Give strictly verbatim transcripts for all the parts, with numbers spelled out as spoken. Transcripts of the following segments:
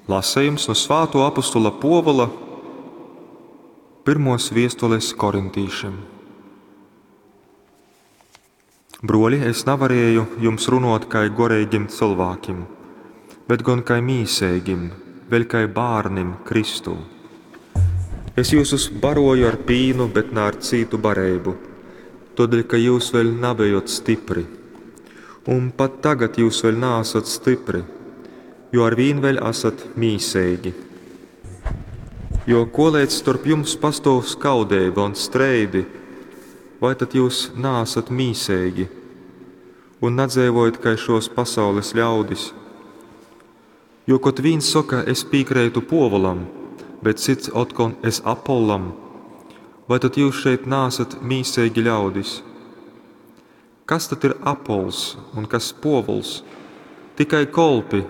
Lasejums nu svātuo apostula Puovula pyrmuos viestules korintīšim. Bruoļi, es navarieju jums runuot kai goreigim cylvākim, bet gon kai mīseigim, vēļ kai bārnim Kristū. Es jyusus baroju ar pīnu, bet na ar cītu bareibu, tuodeļ ka jyus vēļ nabejot stypri. Un pat tagad jyus vēļ naasat stypri, jo arvīn vēļ asat mīseigi. Jo koleidz storp jums pastuov skaudeiba un streidi, vai tad jyus naasat mīseigi un nadzeivojat kai šuos pasaules ļaudis? Jo kod vīns soka, es pīkreitu Puovulam, bet cyts otkon, es Apollam, vai tad jyus šeit naasat mīseigi ļaudis? Kas tad ir Apols un kas Puovuls? Tikai kolpi,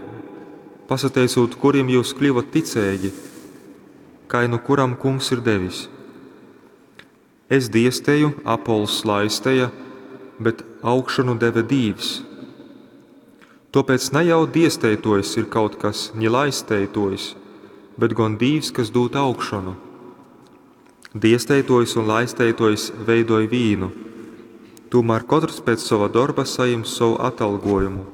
pasateicūt kurim jyus kļuvot ticeigi, kai nu kuram Kungs ir devis. Es diesteju, Apols laisteja, bet augšonu deve Dīvs. Tuopēc na jau diesteituojs ir kaut kas, ni laisteituojs, bet gon Dīvs, kas dūd augšonu. Diesteituojs un laisteituojs veidoj vīnu, tūmār kotrs pēc sova dorba sajims sovu atalgojumu.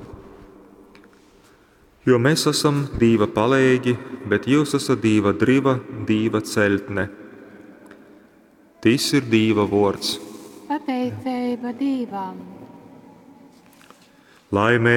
Jo mēs asam Dīva paleigi, bet jyus esat Dīva dryva, Dīva ceļtne. Tys ir Dīva vuords. Pateiceiba Dīvam. Laimeigi